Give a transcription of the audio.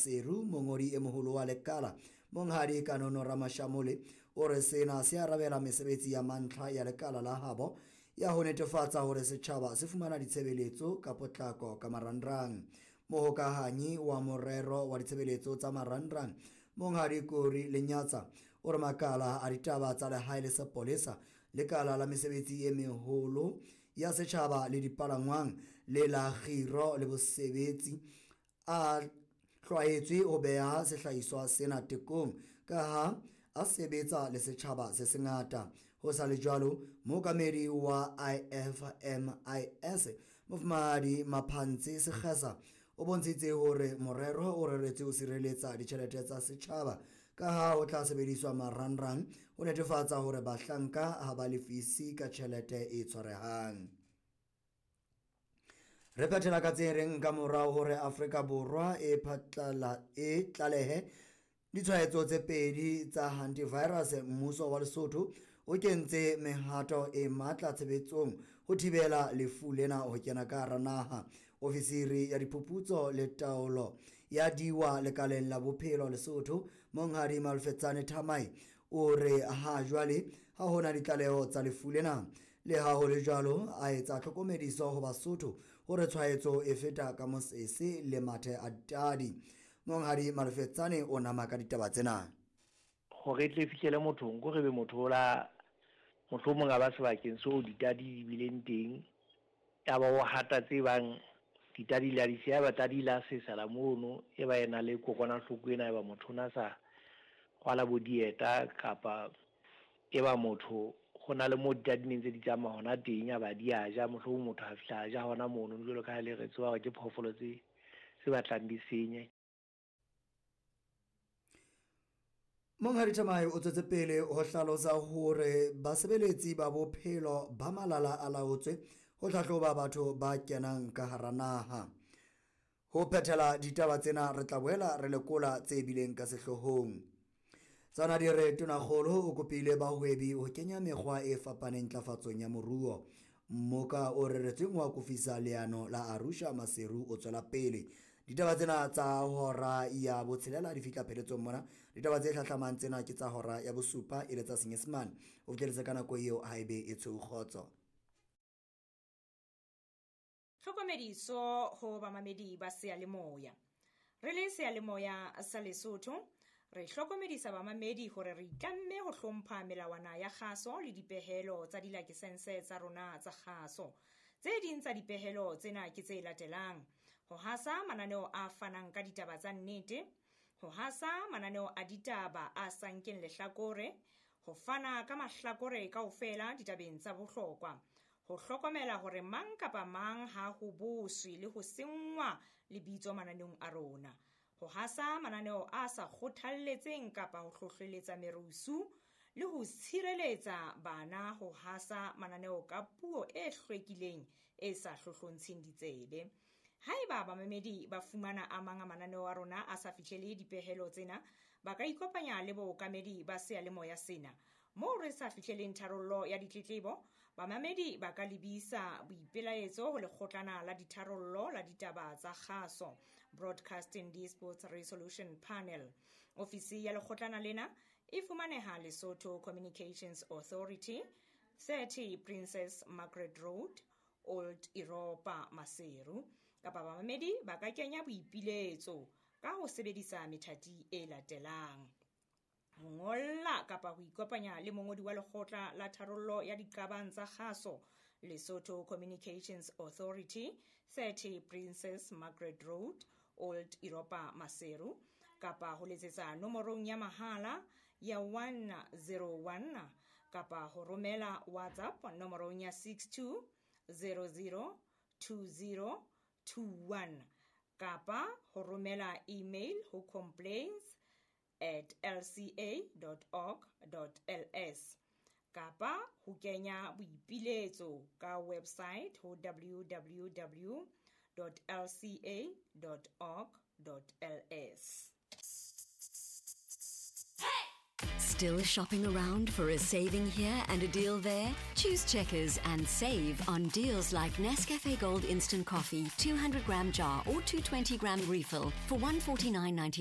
Maseru, mongodi e moholo wa lekala, Monghadi Kanono Ramashamole, o re sena se arabela mesebetsi ya mantlha ya lekala la habo ya ho netefatsa hore setjhaba se fumana ditshebeletso ka potlako ka marangrang. Mohokahanyi wa morero wa ditshebeletso tsa marangrang, Monghadi Kori Lenyatsa, o re makala a ditaba tsa lehae le sepolesa, lekala la mesebetsi e meholo ya setjhaba le dipalangwang le la kgiro le bosebetsi a hlwaetswe ho beha sehlahiswa sena tekong ka ha a sebetsa le setjhaba se sengata. Ho sa le jwalo, mookamedi wa IFMIS, Mofumahadi Maphantshe Sekgesa, o bontshitse hore morero o reretswe ho sireletsa ditjhelete tsa setjhaba ka ha ho tla sebediswa marangrang ho netefatsa hore bahlanka ha ba lefise ka tjhelete e tshwarehang. Re phethela ka tse reng ka morao hore Afrika Borwa e phatlala e tlalehe ditshwaetso tse pedi tsa hantivirus, mmuso wa Lesotho o kentse mehato e matla tshebetsong ho thibela lefu lena ho kena ka hara naha. Ofisiri ya diphuputso le taolo ya diwa lekaleng la bophelo Lesotho, Monghadi Malfetsane Thamai, o re ha jwale ha hona ditlaleho tsa lefu lena. Le ha ho le jwalo, a etsa tlhokomediso ho Basotho hore tshwaetso e feta ka mosese le mathe a ditadi. Monghadi Malfetsane o nama ka ditaba tsena. Hore e tle e fihlele mothong, ko re be motho o la mohlomong a ba sebakeng seo ditadi di bileng teng, ya ba o hata tse bang ditadi la di siya, ba tadi la sesela mono, e ba ena le kokwanahloko ena, e ba motho o na sa rwala bo dieta, kapa e ba motho ho na le mo ditadi neng tse di tsamaya hona teng, ya ba di a ja, mohlomong motho a fihla a ja hona mono, jwalo ka ha le re tseba hore ke phoofolo tse batlang di senye. Monghadi Thamae o tswetse pele ho hlalosa hore basebeletsi ba bophelo ba malala a laotswe ho hlahloba batho ba kenang ka hara naha. Ho phethela ditaba tsena re tla boela re lekola tse bileng ka sehloohong. Tsona di re Tonakgolo o kopile bahwebi ho kenya mekgwa e fapaneng ntlafatsong ya moruo. Mmoka o reretsweng ho akofisa leano la Arusha Maseru o tswela pele. Ditaba tsena tsa hora ya botshelela di fihla pheletsong mona. Ditaba tse hlahlamang tsena ke tsa hora ya bosupa e le tsa Senyesemane. O fihlelletse ka nako eo haebe e tshweu kgotso. Tlhokomediso ho bamamedi ba seyalemoya. Re le seyalemoya sa Lesotho, re hlokomedisa bamamedi hore re itlamme ho hlompha melawana ya kgaso le dipehelo tsa dilakesense tsa rona tsa kgaso. Tse ding tsa dipehelo tsena ke tse latelang: ho hasa mananeo a fanang ka ditaba tsa nnete, ho hasa mananeo a ditaba a sa nkeng lehlakore, ho fana ka mahlakore kaofela ditabeng tsa bohlokwa, ho hlokomela hore mang kapa mang ha ho boswe le ho senngwa lebitso mananeong a rona, ho hasa mananeo a sa kgothalletseng kapa ho hlohleletsa merusu, le ho tshireletsa bana ho hasa mananeo ka puo e hlwekileng e sa hlohlontsheng ditsebe. Haeba bamamedi ba fumana a mang a mananeo a rona a sa fihlele dipehelo tsena, ba ka ikopanya le bookamedi ba seyalemoya sena. Moo re sa fihleleng tharollo ya ditletlebo, bamamedi ba ka lebisa boipelaetso ho lekgotlana la ditharollo la ditaba tsa kgaso, Broadcasting Disputes Resolution Panel. Ofisi ya lekgotlana lena e fumaneha Lesotho Communications Authority, 30 Princess Margaret Road, Old Europa, Maseru. Kapa bamamedi ba ka kenya boipiletso ka ho sebedisa methati e latelang: ho ngolla kapa ho ikopanya le mongodi wa lekgotla la tharollo ya diqabang tsa kgaso, Lesotho Communications Authority, 30 Princess Margaret Road, Old Europa, Maseru, kapa ho letsetsa nomorong ya mahala ya 101, kapa ho romela WhatsApp nomorong ya 62 00 20 21, kapa ho romela email ho complaints@lca.org.ls, kapa ho kenya boipiletso ka website ho www.lca.org.ls. Still shopping around for a saving here and a deal there? Choose Checkers and save on deals like Nescafe Gold Instant Coffee, 200 gram jar or 220 gram refill for 149.99.